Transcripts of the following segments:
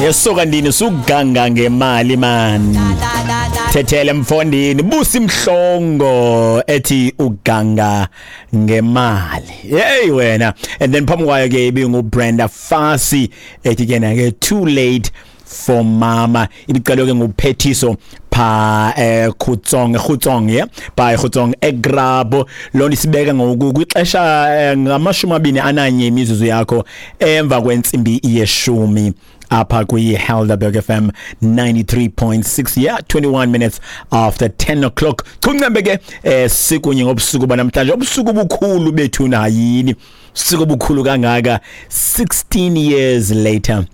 Yesuka ndini, suganga ngemali man. Thethele mfondini, Busi Mhlongo ethi uganga ngemali. Hey wena. And then phambi kwayo ke ibingu Brenda Fassie ethi ke na ke "Too Late for Mama". Ibicelwe ke nguphethiso pha Khutsong, Khutsong, yeah, by Khutsong eGrabo. Lona isibeka ngoku kwixesha 21 imizuzu yakho emva kwentsimbi yeshumi apha kwi-Helderberg FM 93.6, yeah, 21 minutes after 10 o'clock. Chuncembe ke sikunye ngobusuku banamhlanje, obusuku bukhulu bethu nayini, usuku obukhulu kangaka. 16 years later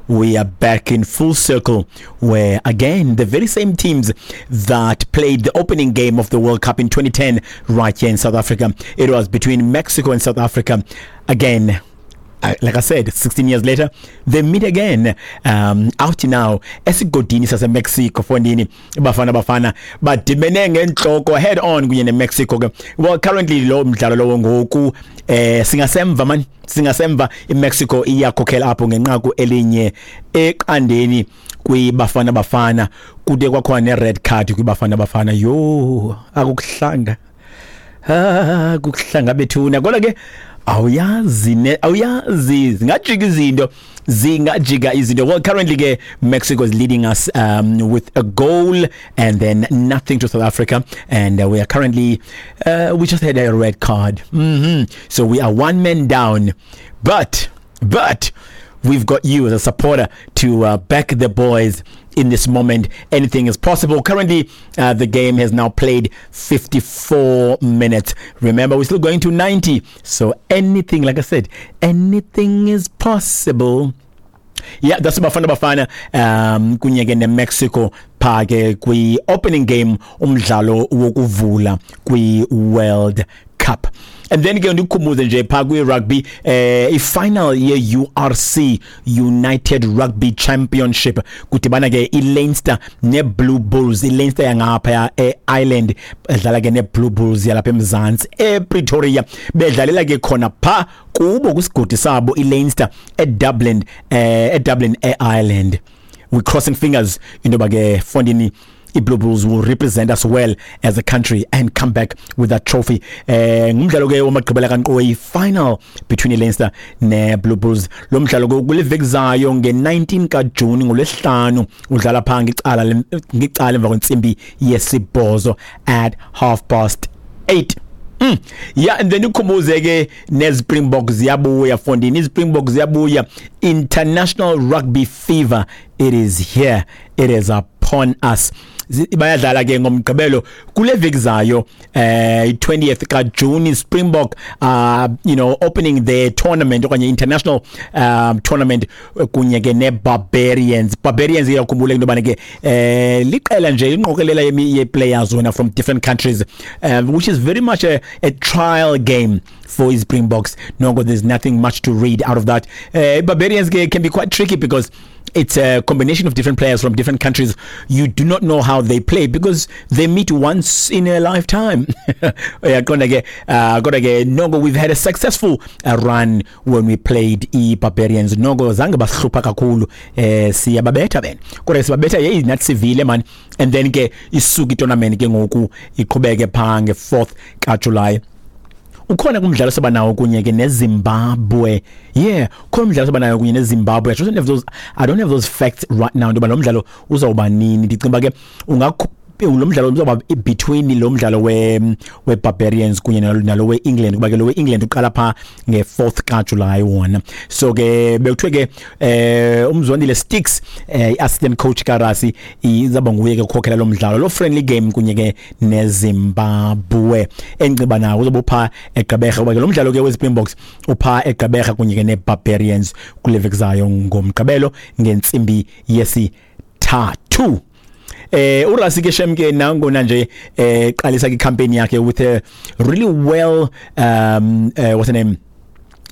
we are back in full circle, where again the very same teams that played the opening game of the World Cup in 2010 right here in South Africa. It was between Mexico and South Africa again. Like I said, 16 years later, they meet again out now esigodini saseMexico fondini. Bafana Bafana badibene ngenhloko, head on kunye neMexico ke. Well, currently lo mdlalo lowo ngoku singasemva man, singasemva. IMexico iyakhokhela apho ngenqaku 1-0 kwiBafana Bafana. Kude kwakhona ne-red card kwiBafana Bafana. Yo, akukuhlanga, ah, kukuhlanga bethuna. Kodwa ke awuyazi ne, awuyazi, zingajika izinto, zingajika izinto. Well, currently ke Mexico is leading us with a goal and then nothing to South Africa, and we are currently we just had a red card, so we are one man down, but we've got you as a supporter to back the boys in this moment. Anything is possible. Currently, the game has now played 54 minutes. Remember, we're still going to 90. So anything, like I said, anything is possible. Yeah, that's Bafana Bafana kunye ke neMexico pha ke kwi opening game, umdlalo wokuvula kwi World Cup. And then ke ndikukhumbuze nje pha kwi rugby i-final ye URC, United Rugby Championship, kudibana ke iLeinster neBlue Bulls. ILeinster yangapha eIreland edlala ke neBlue Bulls yalapha eMzantsi, ePretoria. Bedlalela ke khona pha kubo kwisigodi sabo iLeinster eDublin, eDublin eIreland. We crossing fingers into yoba ke fondini iBlue Bulls will represent us well as a country and come back with that trophy. Ngumdlalo ke wamagqibela kankqoyi, final between iLeinster neBlue Bulls. Lo mdlalo ke kule veki zayo nge-19 kaJuni, ngolwesihlanu, udlala pha ngicala emva kwentsimbi yesibhozo, at 8:30. Yeah, and then ukhumbuze ke neSpringbok ziyabuya fondini, iSpringbok ziyabuya. International rugby fever, it is here, it is upon us. Bayadlala ke ngomgqibelo kule veki zayo, 20th ka June. Springbok opening their tournament okanye international tournament kunye ke ne Barbarians. Barbarians, iyakhumbula into yobana ke liqela nje, inqokelela ye players wena from different countries, which is very much a trial game for his Springboks. No, there's nothing much to read out of that. Barbarians can be quite tricky because it's a combination of different players from different countries. You do not know how they play because they meet once in a lifetime. Uyaqonda ke, kodwa ke noko we've had a successful run when we played i-Barbarians. Noko zange basihlupha kakhulu, siyababetha bena. Kodwa sibabetha yeyi nathi sivile man. And then ke isuka i-tournament ke ngoku iqhubeke pha nge-4th kaJuly. Ukhona kumdlalo sobanawo kunye ke neZimbabwe. Yeah, khona umdlalo sobanayo kunye neZimbabwe. I don't have those facts right now ntoba lo mdlalo uzawuba nini. Ndicinga ke ungakho lo mdlalo uzawuba between lo mdlalo we Barbarians kunye nalo we England, kuba ke lo we England uqala pha nge-4th kaJuly wona. So ke bekuthiwe ke uMzwandile Sticks, assistant coach kaRassie, izaba nguye ke ukhokhela lo mdlalo lo friendly game kunye ke neZimbabwe. Enciba nawo uzobe upha eGqeberha, kuba ke lo mdlalo ke weSpringboks upha eGqeberha kunye ke neBarbarians kule veki zayo ngomgqibelo ngentsimbi yesithathu. URassie ke shem ke nangona nje qalisa ke campaign yakhe with a really well what's the name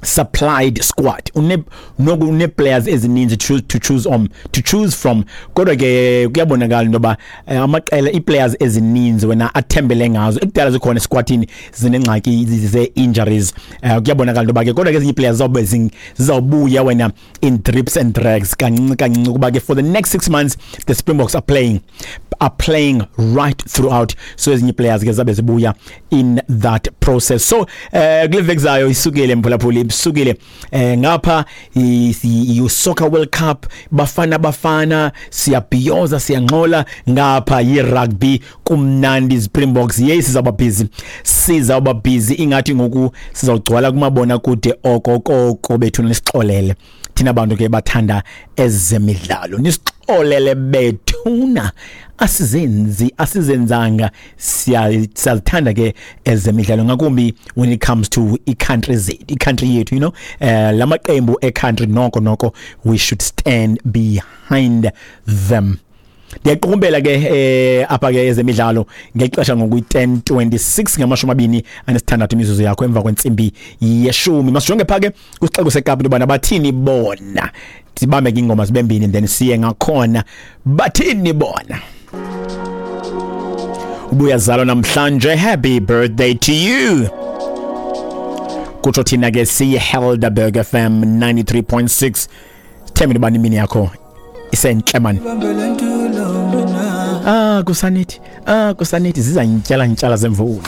Supplied squad une noku une players ezininzi to choose on to choose from. Kodwa ke kuyabonakala into yoba amaqela, ii-players ezininzi wena athembele ngazo ekudala zikhona esquadini zinengxaki ze-injuries. Kuyabonakala into yoba ke kodwa ke ezinye ii-players zizawube zizawubuya wena in drips and drags, kancinci kancinci, kuba ke for the next 6 months the Springboks are playing right throughout, so ezinye players ke zabe zibuya in that process. So kule veki zayo isukile, mphulaphuli, isukile ngapha i Soccer World Cup, Bafana Bafana, siyabhiyoza, siyangxola. Ngapha yi rugby, kumnandi, Springboks. Yes, sizawuba busy, sizawuba busy, ingathi ngoku sizawugcwala kumabona kude okokoko bethu. Nisixolele thina bantu ke bathanda ezemidlalo, nisixolele bethuna, asizenzi, asizenzanga, siyazithanda ke ezemidlalo, ngakumbi when it comes to i-country zethu, i-country yethu, lamaqembu e-country, noko noko we should stand behind them. Ndiyaqukumbela ke apha ke ezemidlalo ngexesha ngoku i-10:26, 26 imizuzu yakho emva kwentsimbi yeshumi. Masijonge pha ke kwisixeko seKapa into yobana bathini bona. Sibambe ke ingoma zibe mbini, then siye ngakhona bathini bona. Ubuyazalwa namhlanje, happy birthday to you, kutsho thina ke siyi-Helderberg FM 93.6. Themba into yobana imini yakho isentle mani. Ah, kusanithi, ah, kusanithi, zizantyala ntyala zemvula.